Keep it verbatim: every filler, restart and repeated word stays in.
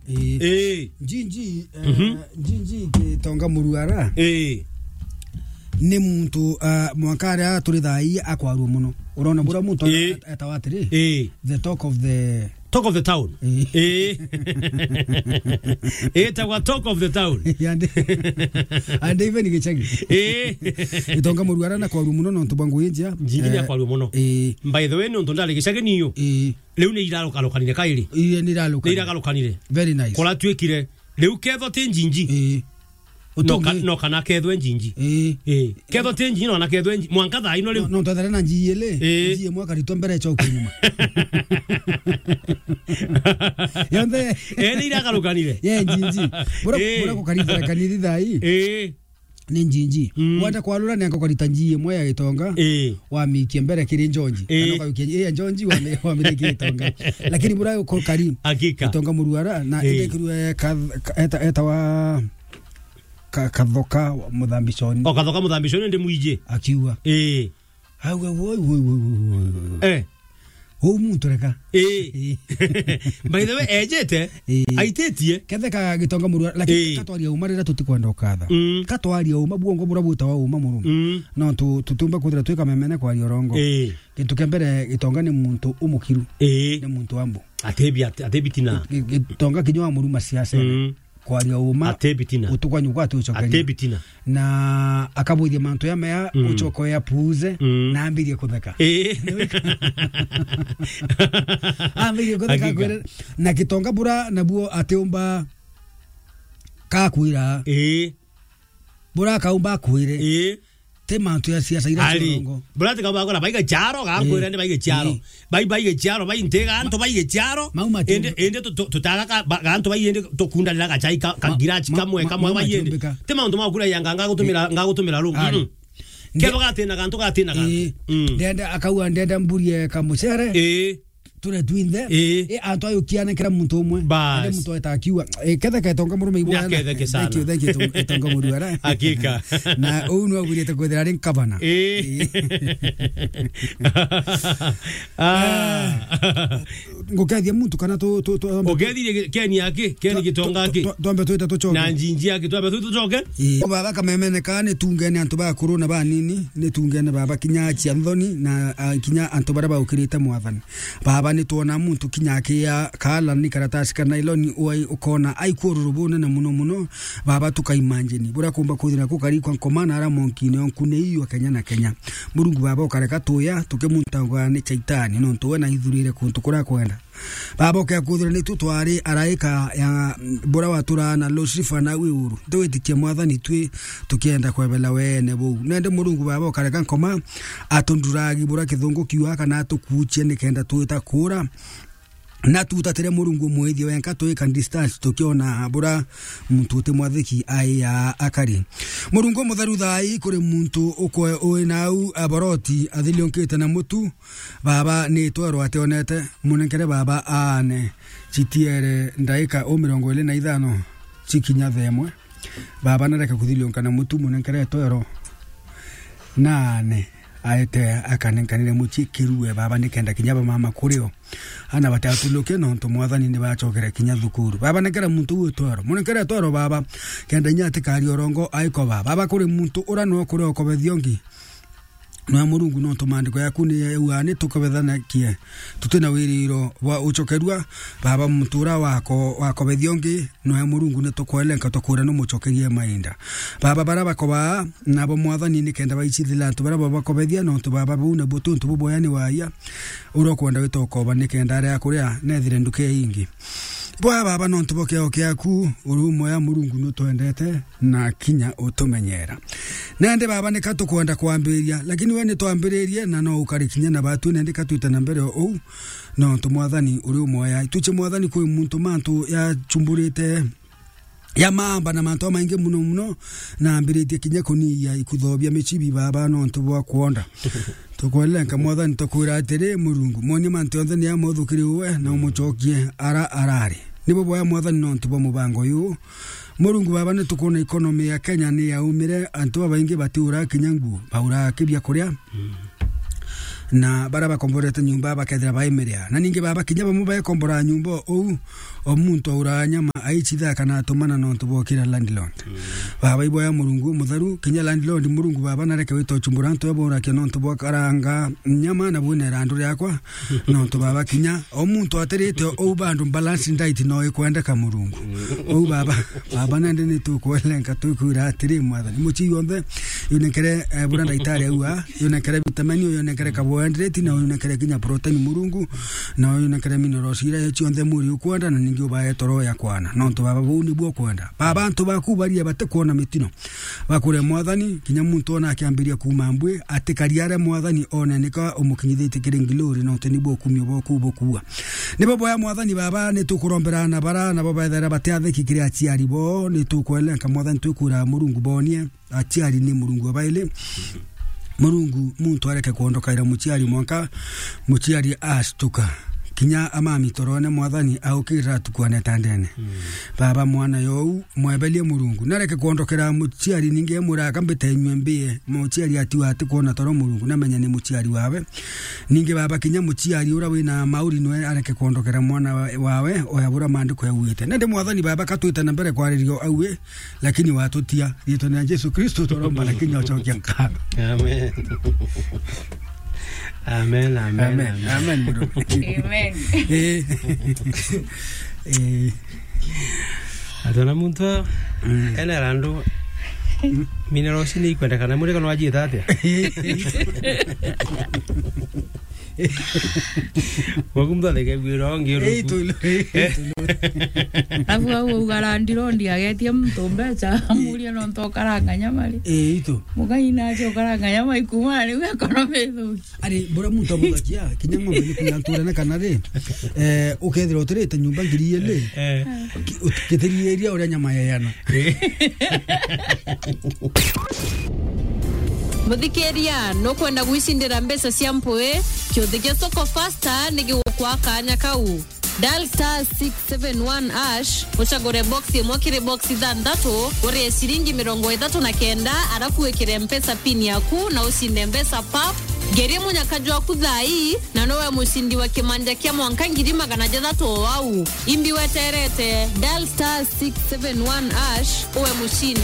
Eh. Eh. Njinji, eh, Mhm. Njinji Gitonga Muruara. Eh. Ni muntu, ah, mwanka aria turi thaa ii akwarua muno. Urona bura muntu Eh. eta-, etawa atiri? Eh. The talk of the Talk of the town. Eh. Eh. Etagwa talk of the town. Yande. Ande even Gicagi. Eh. Gitonga Muruara na kwarua muno nontu bwa ngugi njia. Njinji ni Eh, akwarua muno. Eh. By the way, nontu ndari Gicagi niyo. Eh. Riu ni iragarukanire kairi. Iye ni iragarukanire. Ni iragarukanire. Very nice. Kuratuikire. Riu ketho ti Njinji. Ii. No ka-, Utungi. No kana kethwe Njinji. Ii. Ii. Ketho ti Njinji, no kana kethwe Nji-, mwanka thaa ino riu. No, no, twethera na Njinji ili. Ii. Njinji imwe akaritwa mbere, icoke nyuma. Yonthe. Ii, ni iragarukanire. Ye, Njinji. Bura, Ii. Bura kukaritha kanitha thaa ii. Ii. Ni Njinji. Mm. Wenda kwarura nenga ukarita Njinji imwe ya Gitonga, Ii. Wamikie mbere kiri Njonji. Ii. Kana ukayukia, ii, ya Njonji wami-, wamirie kiri Gitonga. Lakini bura uko kari Hakika. Gitonga Muruara, na Ii. Indi kirue ka-, ka-, eta-, etawa ka-, Kathoka Muthambiconi. O Kathoka Muthambiconi ndi mwiji. Akiuga. Ii. Auga, "Woi, woi, woi, woi, woi, woi." Eh. Uu muntu reka. Ii. Ii. By the way, ejete, Ii. Aititie. Kethe ka Gitonga Muruara, lakini Ii. Katwaria uma riria tutikwenda ukatha. Mm. Katwaria uma, buongo bura bwitawa uma murume. Mm. No tu-, tutiumba kwithira twi kamemene kwaria urongo. Ii. Gintu kia mbere, Gitonga ni muntu umukiru. Ii. Ni muntu wa mbu. Atebi, ate-, atebi tina. Gi-, Gitonga kinya wa muruma siasa. Mm. Kwaria uma. Atebi tina. Utukwa nyuka ati ucokeria. Atebi tina. Na akabwithia mantu ya mea, Mm. Ucoke ya puuze, Mm. Na ambirie kutheka. Ii. Ambirie kutheka. Hakika. Kwere, na Gitonga bura nabuo atiumba kakwira. Ii. Bura akaumba akwire. Ii. Ti mantu ya siasa ira Ari. Ciongo. Bura ti kaumba akwira, baige charo, gakwira Ii. Ni baige charo. Ii. Bai, baige charo, bai ntiga, antu baige charo. Mau matu- Indi, indi tu-, tu-, tutaga ka-, ba-, gantu bai indi tukundanira gachai ka, ka Ma-, girachi ma-, kamwe, ma-, kamwe ma-, bai indi. Matumbika. Ti maundu ma kura ya nganga gutumira, Ii. Ngagutumira rungu. Ari. Mm. Keba gatina gantu, gatina gantu. Ii. Mm. Ndenda, akauga, "Ndenda mburie kamucere." Ii. Ture twinthe. Ii. Ii, antu ayukiane kira muntu umwe. Bas. Ende muntu eta akiuga, Ii, kethe Gitonga murume ibwana. Nyaketheke sana. Thank you, thank you, Gitonga Muruara. Hakika. Na uu nwe agwirite kwithira ari ngavana. Ii. Ii. Ah. Ngukethia muntu kana tu, tu, tu, Ukethirie Keni aki, Keni Gitonga aki. Twa-, twa-, twambe twite tucoke. Na Njinji aki, twambe twite tucoke. Ii. Baba kamemene ka ni tungene antu bakuru na banini, ni tungene baba kinya acia nthoni na, ah, kinya antu baria baukirite Mwathani. Baba, ni twona muntu kinya akia kaala ni karatasi ka nailoni, uai ukona aiku ururu bunene muno muno. Baba, tuka imagine buria kumba kwithira kukari kwa nkoma na ara monkine onkune iyo Kenya na Kenya. Murungu Baba, ukareka tuya tukimuntagwa ni Chaitani, nontu we naithurire kuntu kuria kwenda. Baba, ukea kwithira nitu twari araika ya buria waturaa na Lucifer na wi uru. Ndiwitikie Mwathani twi tukienda kwebela weene buu. Nende Murungu Baba, ukareka nkoma atunduragi buria kithungu kiuga kana atukuuchie nikenda twita kura. Na tutatire Murungu umwithie wenka twika distance tukiona bura muntu uti mwathiki aiya akari. Murungu mutheru thai kuri muntu ukwe ui nau aboroti athiliunkite na mutu. Baba ni twero ationete, munenkere baba aane chitiere ndaika u mirongo iri na ithano chikinya themwe. Baba nareke kuthiliunka na mutu, munenkere twero naane aete akanenkanire muchie kirue baba nikenda kinya bamama kurio. Ana batatuluke nontu Mwathani ni bacokere kinya thukuru. Baba, nekera muntu uu twero. Munekere twero, Baba. Kenda inya atikari orongo aiko, Baba. Baba, kuri muntu ura no kuri okobethia ungi. Noe Murungu, nontu maandiko yaku ni yauga ni tukobethanakie. Tuti na wiriro bwa ucokerua. Baba, muntu ura wako, wakobethia ungi, noe Murungu ni tukwelenka tukura ni mucokerie mainda. Baba, bara bakobaa, nabo Mwathani nikenda baicithila antu baria babakobethia, nontu Baba bau nabuo tuntu buboya ni waia, uria ukwenda wita ukoba nikenda aria akuria nethire nduka ingi. Boya Baba, nontu bwa kiao kiaku, uri umoya Murungu nutwendete na kinya utumenyera. Nende Baba, nika tukwenda kwambiriria, lakini we nitwambiririe na no ukari kinya na batu, nende ka twite na mbere o uu, nontu Mwathani uri umoya. Ituche Mwathani kwi muntu mantu yachumburite ya maamba na mantu amaingi muno muno, na ambiritie kinya kuniia ikutho bia michibi, Baba, nontu bwa kwonda. Tukwelenka, Mwathani, tukwira atiri, Murungu, mwonie mantu yonthe ni amothukirie uwe, na umucokie ara arari. Nibo boya, Mwathani, nontu bwa mubango uyu. Murungu, Baba, ni tukwona economy ya Kenya ni yaumire, antu babaingi batiura kinya nguo, baura kibia kuria. Na baria bakomborete nyumba bakethira baimeria. Na ningi, Baba, kinya bamwe baekombora nyumba uu, o muntu aura nyama aichitha kana atumana nontu bwa ukira landlord. Mm. Baba, iboya Murungu mutheru, kinya landlord Murungu baba nareke wita uchumbura antu abo urakia nontu bwa karanga nyama na bwina irandu riakwa. Nontu baba kinya o muntu atirite ou bandu balance diet no ikwendeka Murungu. Mm. Ou baba, baba nende ni tukwelenga tukwira atiri, Mwathani, muchii yonthe, yunekere, eh, bura ndaitari aua, yunekere vitamini, yunekere carbohydrate, na yunekere kinya protein Murungu, na yunekere minerals ira cionthe mwiri ukwenda, na ningi ubae toro ya kwana. Nontu baba buu nibuo ukwenda. Baba, antu baku baria batikwona mitino. Bakure Mwathani, kinya muntu ona akiambiria kuuma mbwi, atikari aria Mwathani one nika umukinyithitie kiri ngiluri, nontu nibuo ukumio bwaku bukua. Nibo boya Mwathani baba, ni tukurombera na bara, nabo bethera batiathiki kiri aciari bo, ni tukwelenga Mwathani, twikwira Murungu bonie, aciari ni Murungu abaili. Murungu, muntu areke kwondokaira muciari mwanka muciari ashtuka. Kinya amami torone Mwathani aukirira tukwane tandene. Mm. Baba, mwana you, mwebelie Murungu. Nareke kwondokera muciari ningi emwira aka mbite nywe mbie. Muciari atiwa atikwona toro Murungu, namenya ni muciari wawe. Ningi baba, kinya muciari ura wina mauri nwe areke kwondokera mwana wa-, wawe, oya bura maandiko yauite. Nende Mwathani baba, katwite na mbere kwaririo aue, lakini watutia. Riitwa ria Jesu Kristo twaromba na kinya ucokia nkatho. Amen. Amen, amen, amen. Amen, amen, bro. Amen. Eh. Eh. Atona muntu, mm, ena randu, mm, minerals ni ikwendekana, muri kana wajiita atia? Waku muntu atheke gwira ongi uru. Eh, itu, itu. Abu au uga landlord agetie muntu mbecha, amuria nontu ukaranga nyama ri. Eh, itu. Mugai nacio ukaranga nyama ikuma riu economy ithuki. Ari, bura muntu amuthakia, kinya ng'ombe ni kuya nturene kana ri, eh, ukethira utirite nyumba ngiri igiri, eh, ki-, ut-, gitiriria uria nyama yeana. Muthikiria, nukwenda gwicindira mbeca cia mpui? Kiuthi gia Soko Fasta ni gigukwa kanya kau. Dial star six seven one hash, ucagure box imwe kiri box ithanthatu, urie ciringi mirongo ithatu na kenda, arafu wikire Mpesa pin yaku na ucinde mbeca pap. Ngerie munyaka jwaku thaa ii, na nowe mucindi wa kimanja kia mwanka ngiri magana jathatu o au. Imbi weterete, dial star six seven one hash, uwe mucindi.